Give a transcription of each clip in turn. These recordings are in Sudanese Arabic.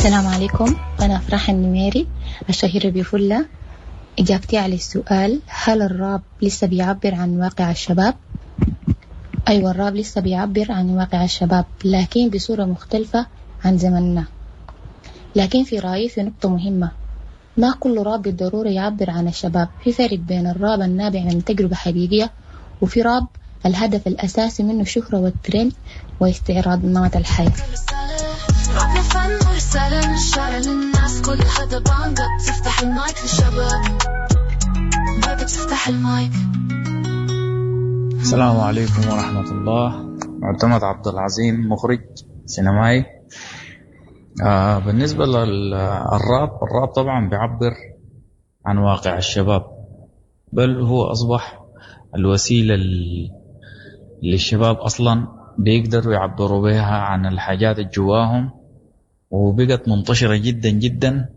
السلام عليكم، أنا أفراح النميري الشهيرة بفلة. إجابتي على السؤال هل الراب لسه بيعبر عن واقع الشباب؟ أيوة، الراب لسه بيعبر عن واقع الشباب لكن بصورة مختلفة عن زمننا. لكن في رأيي في نقطة مهمة، ما كل راب بالضرورة يعبر عن الشباب. في فرق بين الراب النابع من تجربة حقيقية وفي راب الهدف الأساسي منه الشهرة والترند واستعراض نمط الحياة. رابنا فن ورسالة من الشارع للناس، كل هذا بانجا بتفتح المايك للشباب، بانجا بتفتح المايك. السلام عليكم ورحمة الله. معتمد عبد العظيم، مخرج سينمائي. بالنسبة للراب، الراب طبعا بيعبر عن واقع الشباب، بل هو أصبح الوسيلة اللي الشباب أصلا بيقدروا يعبروا بها عن الحاجات الجواهم، وبقت منتشرة جدا جدا،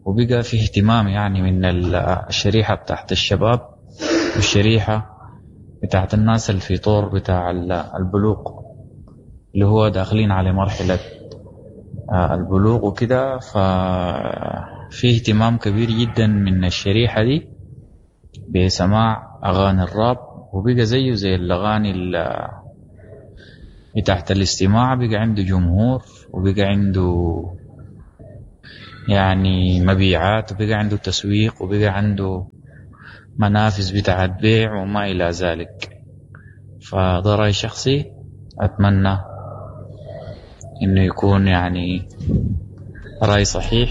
وبقى في اهتمام من الشريحة بتاعت الشباب والشريحة بتاعت الناس اللي في طور بتاع البلوغ، اللي هو داخلين على مرحلة البلوغ وكده. ففي اهتمام كبير جدا من الشريحة دي بسماع أغاني الراب، وبقى زيه زي الأغاني بتاعت الاستماع، بقى عنده جمهور وبقى عنده مبيعات، وبقى عنده تسويق، وبقى عنده منافذ بتاعت بيع وما إلى ذلك. فده رأي شخصي، أتمنى إنه يكون رأي صحيح.